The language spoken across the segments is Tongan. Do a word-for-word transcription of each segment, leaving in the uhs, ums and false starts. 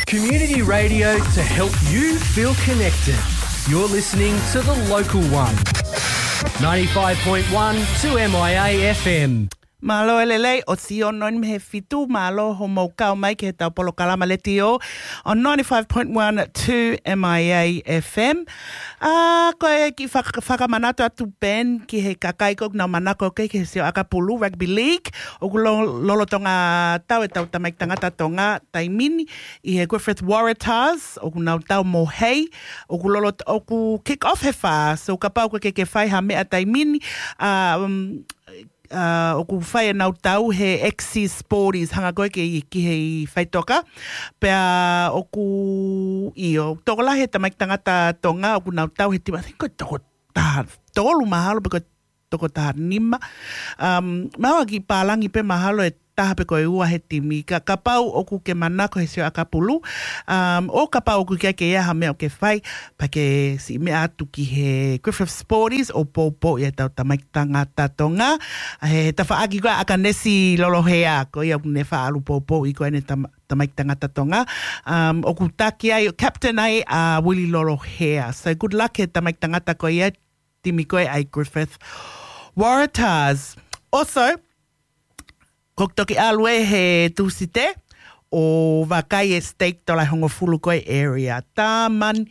Community radio to help you feel connected. You're listening to The Local One. Ninety-five point one two M I A F M. Mālō e lelei, ʻosi ono mei he fitu, mālō hoʻomou kau mai ki heʻetau polokalama letiō ʻo ninety-five point one two M I A F M. ʻA, ko e kiʻi faka-, fakamanatu atu pē eni ki he kakai ʻoku nau manako ki he siʻi ʻakapulu, rugby league, ʻoku lo-, lolotonga tau ʻetau tamaiki tangata Tonga taimi ni ʻi he Griffith Waratahs, ʻoku nau tau mo hei, ʻoku lolo-, ʻoku kick off he fā, so kapau ʻoku ke, ke fai ha meʻa taimi ni, ʻa, um, ʻa, ʻoku fai ʻenau tau he Axis Sporties, hanga ko ē ki, ki he faʻitoka, pea ʻoku ʻio, tokolahi e tamaiki tangata Tonga, ʻoku nau tau he timi, I think ko e toko taha tolu mahalo, pe ko e toko taha nima. Um, mahalo kiʻi pālangi pē mahalo e taha pe ko e ua he timi. Ka, kapau ʻoku ke manako he siʻi ʻakapulu, um, ʻo kapau ʻoku ke, ke ʻi ai ha meʻa ʻoku ke fai, pea ke siʻi meʻa atu ki he Griffith Sporties ʻo poupou ʻetau tamaiki tangata Tonga. He tafaʻaki ko ē ʻa ʻAkanesi Lolohea, ko ia ʻoku ne faʻa ʻalu poupouʻi ko ē ʻene tama-, tamaiki tangata Tonga. Um, ʻoku taki ai, captain ai ʻa Willie Lolohea. So good luck he tamaiki tangata ko ia, timi ko ē ʻa e Griffith Waratahs. Also, ʻoku toki ʻalu ē he Tūsite ʻo vakai e steak tola ʻe hongofulu ko ē area. Taman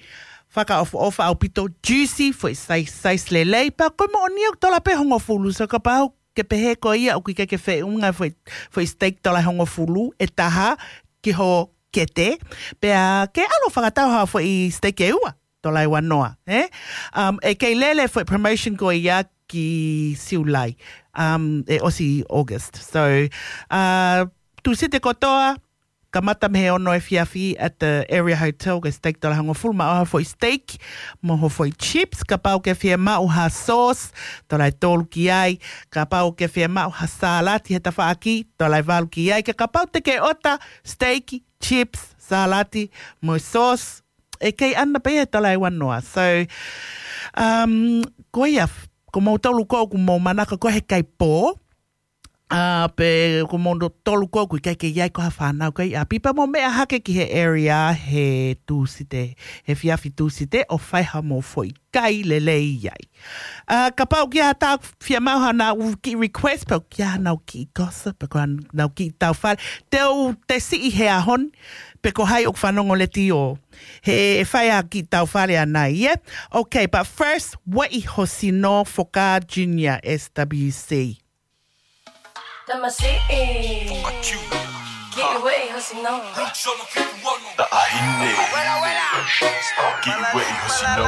fakaʻofoʻofa ʻaupito, juicy, foʻi size, size lelei, pea ko e moʻoni ʻoku tola pē ʻe hongofulu, so kapau ʻoku ke pehē ko ia ʻoku ʻikai ke feʻunga foʻi, foʻi steak tola ʻe hongofulu ʻe taha ki ho kete, pea ke ʻalu ʻo fakatau ha foʻi steak ʻe ua, tola ʻe uanoa, ē? Um, ʻe kei lele foʻi promotion ko ia ki Siulai, um, ʻe ʻosi August. So, uh, Tūsite kotoa, kamata mei he ono efiafi at the Area Hotel, ko e steak tola ʻe hongofulu, maʻu ha foʻi steak, mo ho foʻi chips, kapau ʻoku ke fiemaʻu ha sauce, tola ʻe tolu ki ai, kapau ʻoku ke fiemaʻu ha sālati he tafaʻaki, tola ʻe valu ki ai, ka kapau te ke ʻota steak, chips, sālati, mo e sauce, ʻe kei ʻana pē ia he tola ʻe uanoa. So, um, ko ia, ko moutolu ko ē ʻoku mou manako ko ē he kai pō, ʻa, pe ko moutolu ko ē ʻoku ʻikai ke ʻi ai ko ha fānau ko ē ʻi ʻapi, pea mou meʻa hake ki he area he Tūsite, he efiafi Tūsite, ʻo fai haʻamou foʻi kai lelei ai. ʻA, kapau ʻoku ʻi ai haʻatau fiemaʻu haʻanau kiʻi request, pe ʻoku ʻi ai haʻanau kiʻi gossip, pe ko haʻanau kiʻi taufale, te u tesiʻi he ʻaho ni, pe ko hai ʻoku fanongo letiō. He ʻe fai ha kiʻi taufale ʻanai, yeah? Okay, but first, Ueʻi ho sino, Foka Junior, S W C. Tamasiʻi. Kiʻi ueʻi ho sino. Taʻahine. Kiʻi ueʻi ho sino.